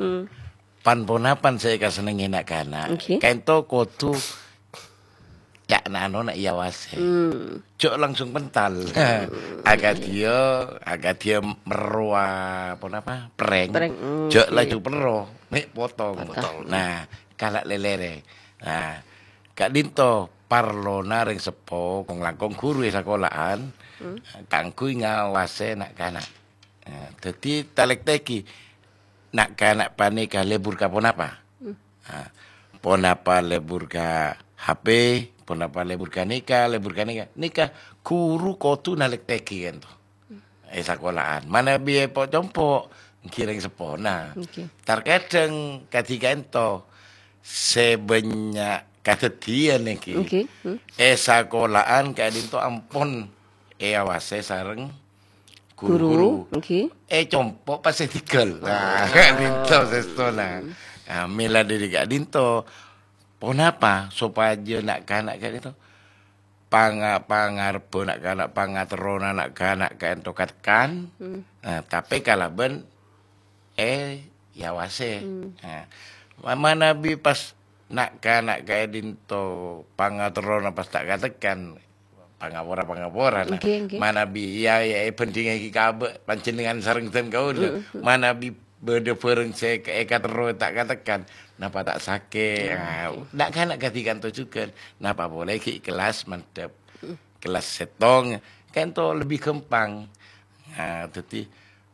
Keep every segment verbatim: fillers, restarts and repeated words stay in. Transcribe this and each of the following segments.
Hmm. Pan-ponapan sè èkasennengngè na'-kana'. Oke. Kaènto kodhu ca' na-, ano na' èawasè. Hmm. Jhâ' langsung pental. Akadhiyâ, akadhiyâ merro a-, ponapa? Prank. Prank, hmm, jhâ' oke. Laju perro, mè' potong. Potong. Nah, kala' lèlèrè. Nah, ka'dinto parlona rèng seppo, kong-langkong ghuru è sakola'an, hmm, kaangghuy ngawasè na'-kana'. Nah, dhâddhi talèktèghi na'-kana' panèka lebur ka ponapa? Hmm. Nah, ponapa lebur ka H P, ponapa lebur ka nèka, lebur ka nèka. Nèka ghuru kodhu nalèktèghi kaènto. È sakola'an. Manabi èpo-compo, ènggi rèng seppona. Oke. Tarkadhâng kadhi kaènto sè bânnya' kadhâddhiyân ènggi. Oke. Hmm. È sakola'an ka'dinto ampon èawasè sareng guru-guru. Guru, oke. È compo' pas èdinggal. Nah, ka'dinto sèstona. Nah, mèla dhâri ka'dinto. Ponapa sopajâ na'-kana' ka'dinto? Panga-, pangarebbhâ na'-kana', pangaterrona na'-kana' ka'dinto katekkan. Hmm. Nah, tapè kalabân è, èawasè. Hmm. Nah, ma-, manabi pas na'-kana' ka'dinto pangaterrona pas ta' katekkan, pangapora-pangapora, nah. Ngghi, ngghi. Manabi, iyâ, iyâ, èbhândhingngaghi ka abâ' panjhennengngan sareng dân kaulâ. Mm, mm. Manabi bâdâ bhârâng sè èka-, èkaterro ta' katekkan, napa ta' sakè'? Mm, nah, oke. Na'-kana' kadhi kaènto jhughân, napa polè ghi' kellas mandhâp. Mm. Kellas sèttong, kaènto lebbi ghâmpang. Nah, dhâddhi,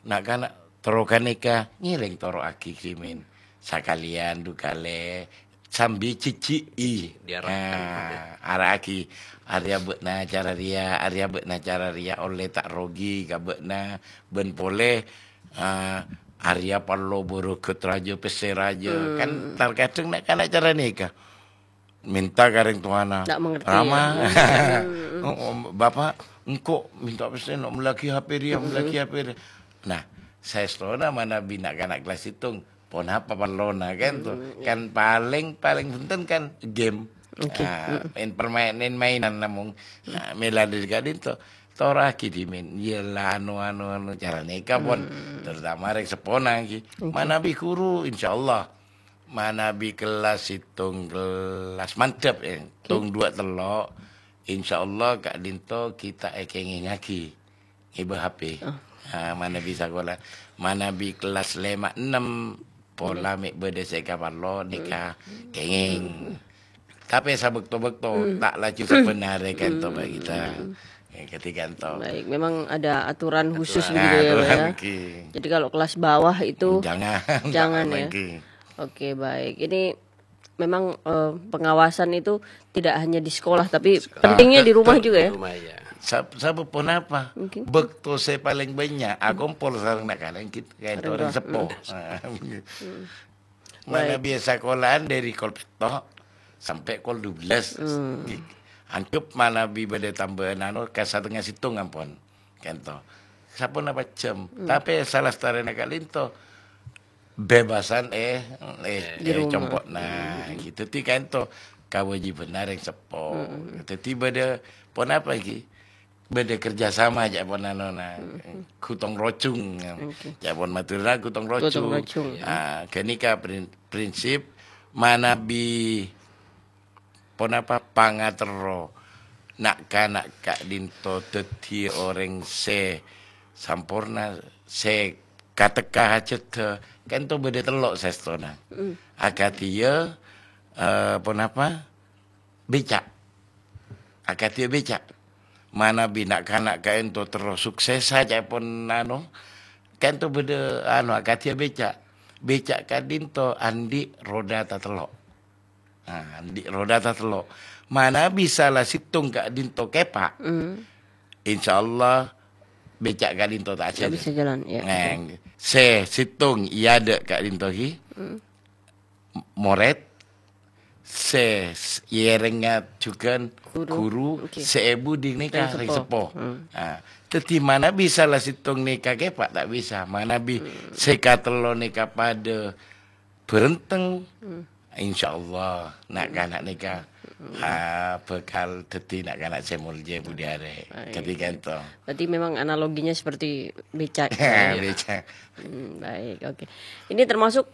na'-kana' terro ghânèka ngèrèng toro'aghi dhimèn. Sakalèyan du kalè sambi jhijhi'i. Diarahkan. Nah, ara'aghi, "Arèya bâ'na cara rèya, arèya bâ'na cara rèya, ollè ta' rogi ka bâ'na, bân polè, ah, arèya parlo bârâghât rajâ, pèssè rajâ." Hmm. Kan tarkadhâng na'-kana' cara nèka. Minta ka rèng towana, "Rama, ya. Hmm. Oh, oh, Bapak, engko' minta pèssè, no' mellèaghi H P rèya, hmm, mellèaghi H P rèya." Nah, saèstona manabi na'-kana' kellas sèttong, ponapa parlona, kan, to? Hmm, iya. Kan palèng, palèng bhunten kan game. Oke. Nah, hmm, main permainan, mainan namong. Nah, mèla dhâri ka'dinto, toro'aghi dhimèn. Iyâ la, anu, anu, anu, cara nèka pon. Hmm. Terutama rèng seppona, ghi. Oke. Manabi ghuru, insyaallah. Manabi kellas sèttong kellas mandhâp, eh, oke, tong duwâ' tello', insyaallah ka'dinto ghi' ta' èkèngèngaghi ngèbâ H P. Oh. Ah, manabi sakola, manabi kellas lèma' ennem, pola, hmm, mè' bâdâ sè èkaparlo, hmm, nèka kèngèng. Hmm. Tapè sabâkto-bâkto, hmm, ta' laju sabbhân arè kaènto, hmm, Mbak Gita. Hmm. Ya, kadhi kaènto. Baik, memang ada aturan khusus, aturan, begitu ya, Pak, aturan, ya? Ngghi. Jadi kalau kelas bawah itu jangan, jangan, ya? Ngghi. Oke, baik. Ini memang, eh, pengawasan itu tidak hanya di sekolah, tapi sekolah, pentingnya di rumah juga, ya? Di rumah, ya. Sab-, sabâb ponapa? Mungkin. Bâkto sè palèng bânnya' akompol sareng na'-kana' ghi' kaènto orèng seppo. Orang tua. Hmm. Nah, hmm. Baik. Manabi sakola'an dhâri kol pètto' sampè' kol dua belas. Hmm. Gi-, anggep manabi bâdâ tambâ'ân anu ka satengnga sèttong ampon. Kaènto. Saponapa jam. Hmm. Tapè salastarèna ka'dinto bebasân, eh, eh, di, eh, rumah, compo'na. Hmm. Gitu. Dhâddhi kaènto kawâjibhânna rèng seppo. Hmm. Dhâddhi bâdâ ponapa ghi? Bâdâ kerjasama, ca'èpon panona, mm-hmm, gotong royong. Oke. Ca'èpon Madhurâ gotong royong. Gotong royong, ya. Ah, ghânèka prin-, prinsip manabi ponapa pangaterro na'-kana' ka'dinto dhâddhi orèng sè samporna, sè katekka hajhâddhâ, kaènto bâdâ tello' saèstona. Mm. Akadhiyâ, eh, ponapa? Bèca'. Akadhiyâ bèca'. Manabi na'-kana' kaènto terro suksessa, ca'èpon anu, kaènto bâdâ anu, akadhiyâ bèca'. Bèca' ka'dinto andi' roda tatello'. Nah, andi' roda tatello'. Manabi sala sèttong ka'dinto kèpa', hmm, insyaallah bèca' ka'dinto ta' ajhâlân. Ta' bisa jalan, ya. Nah, sè sèttong è adâ' ka'dinto ghi. Hmm. Morèd, sè s-, èyèrèngnga jhughân guru, guru, oke, sè èbhudhi nèka rèng seppo. Rèng seppo. Hmm. Ah, dhâddhi manabi sala sèttong nèka kèpa' ta' bisa. Manabi, hmm, sè katello' nèka padâ bhârenteng, hmm, insyaallah na'-kana' nèka, hmm, ah, bhâkal dhâddhi na'-kana' sè molja budi arè. Baik. Kadhi kaènto. Berarti memang analoginya seperti bèca', ya? Bèca'. Hmm, baik, oke. Ini termasuk